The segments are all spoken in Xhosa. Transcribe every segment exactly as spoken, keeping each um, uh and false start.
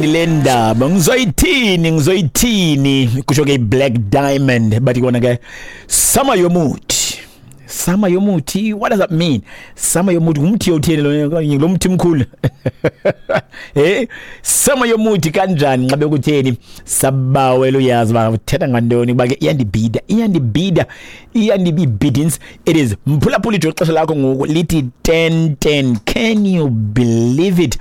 Le ndaba ngizoyithini ngizoyithini kusho ke Black Diamond bathi kona ke sama yomuthi sama yomuthi. What does that mean? Sama yomuthi ngumuthi otheni lo lo muthi mkhulu eh sama yomuthi kanjani nxa bekutheni sabawela uyazi ba uthetha ngantoni kuba ke iyandibida iyandibida iyandibidins. It is mphulaphula ixesha lakho ngoku lithi ten ten. Can you believe it?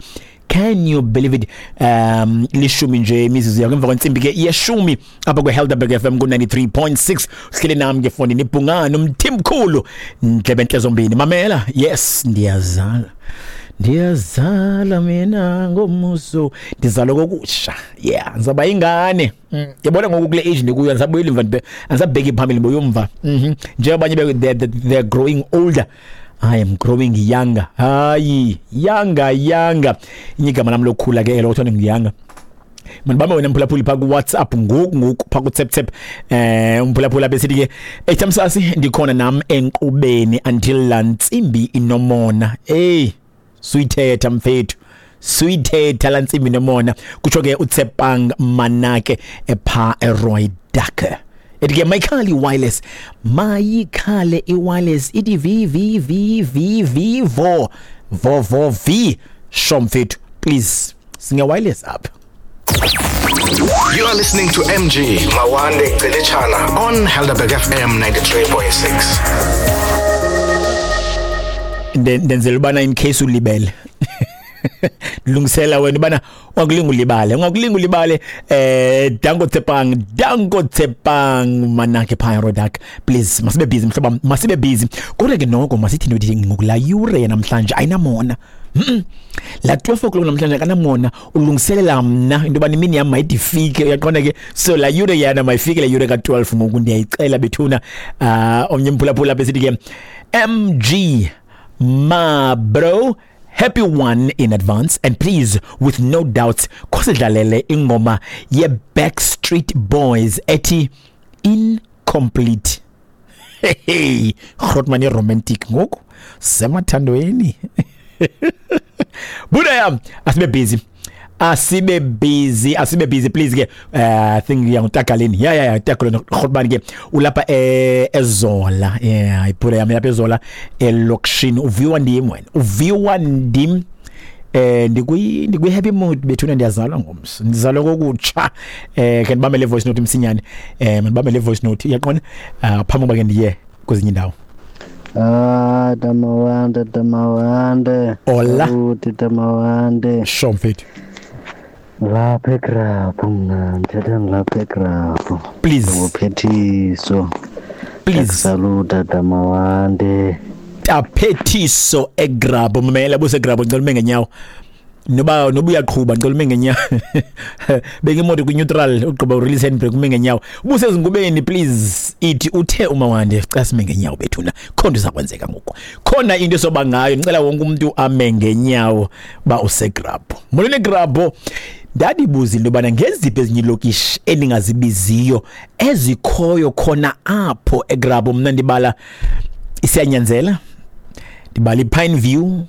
Can you believe it? Um lishumi nje imizuzu yakho emva kwentsimbi ke yeshumi apha kwe-Helderberg F M ku-ninety-three point six. Uhleli nami ke fondini ibhungane umthimkhulu ndlebe zombini. Mamela, yes, ndiyazala ndiyazala mina ngomuso ndizalwa kokusha. Yeah, ngizaba ingane. Yabona ngoku kule age ndikuyo andisabuyeli emva, andisabheki phambili boyomva. Mhm njengoba abanye they're growing older, I am growing younger. Hayi, younger, younger. Igama lami lokukhula ke elo kuthiwa ngiyanga. Mandibambe wena mphulaphuli pha ku WhatsApp ngoku ngoku pha ku tap tap eh umphulaphula besithi ke eThamsasi ndikhona nam enkqubeni until la ntsimbi inomona. Hey, suyithetha mfethu. Suyithetha la ntsimbi inomona. Kutsho ke uTsepang Manake epha eRoy Ducker. Ethi ke mayikhale i-wireless, mayikhale i-wireless ithi V V V V V vo vo vo V sho mfethu, please singe wireless apha. You are listening to M G Mawande Gcilitshana on Helderberg F M ninety-three point six. Ndenzela ubana in case ulibele lungisela wena bana ungakulinga ulibale ungakulinga ulibale eh danko Tsepang danko Tsepang Manake pha Rodak, please masibe busy mhlobo, masibe busy. Kodwa ke noko masithi nothi ngokula yure namhlanje ayinamona. Mm la twelve o'clock namhlanje kanamona ulungiselela mna into bani imini yami mayidifike uyaqonda ke. So la yure yana mayifike la yure ka twelve ngoku ndiyayicela bethuna. Uh omnye mphulaphula besithi ke M G ma bro, happy one in advance and please with no doubts khosidlalele ingoma ye Backstreet Boys ethi Incomplete. Hey, Grootman romantic ngoku semathandweni. Buda yam asibe busy asibe busy asibe busy please ke. uh, I think yangutakaleni yeah yeah yeah takaleni Grootman ke ulapha eZola. Yeah, ibuda yam lapha eZola elokishini uviwa ndim wena uviwa ndim eh ndikwi ndikwi happy mood bethuna ndiyazalwa ngomso ndizalwa kokutsha. Eh ke ndibambe le voice note msinyane eh ndibambe le voice note iyaqona phambi kuba ke ndiye kwezinye indawo. Ah, Damawande, Damawande. Hola. Uthi Damawande. Sho mfethu. Lapha eGrabhu mna, ndithetha ngilapha eGrabhu. Please. Nguphethiso. Please. Saluta Damawande. Taphethiso eGrabhu mamela buseGrabhu ngicela ume ngenyawo. Noba noba uyaqhuba ngicela ume ngenyawo. Beka imoto ku neutral ugqiba release handbrake ume ngenyawo. Ubusezingubeni please ithi uthe uMawande cela sime ngenyawo bethuna. Khona izakwenzeka ngoku. Khona into esoba ngayo ngicela wonke umuntu ame ngenyawo ba useGrabhu. Molweni eGrabhu. Ndadibuza into yobana ngeziphi ezinye iilokishi endingazibiziyo ezikhoyo khona apho eGrabhu. Mna ndibala iSiyanyanzela, ndibala iPine View,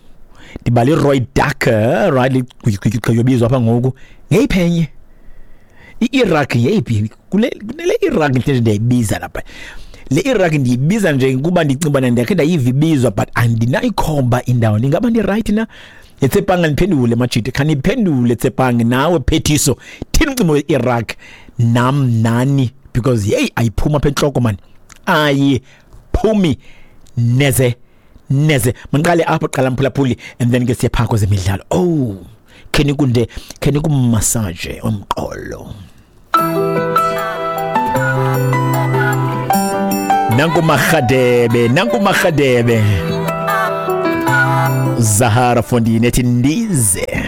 ndibala iRoy Ducker, right ligqiyobizwa apha ngoku. Ngeyiphi enye? I-Iraq yeyiphi? Kule kunele Iraq nje ndiyayibiza lapha. Le Iraq ndiyibiza nje kuba ndicinga ubana ndiyakhe ndayiva ibizwa but andinayikhomba indawo. Ndingaba ndi-right na? Tsepang ndiphendule majita, khaniphendule Tsepang nawe Phethiso. Thini umcimbi we-Iraq nam nani because hey ayiphuma apha entloko man. Ayiphumi neze neze. Mandiqale apho qala mphulaphuli and then ke siye phaa kwezemidlalo. Oh, khenikunde khenikumassage umqolo. Nanku Mahadebe, nanku Mahadebe. Zahara Fondini ethi ndize.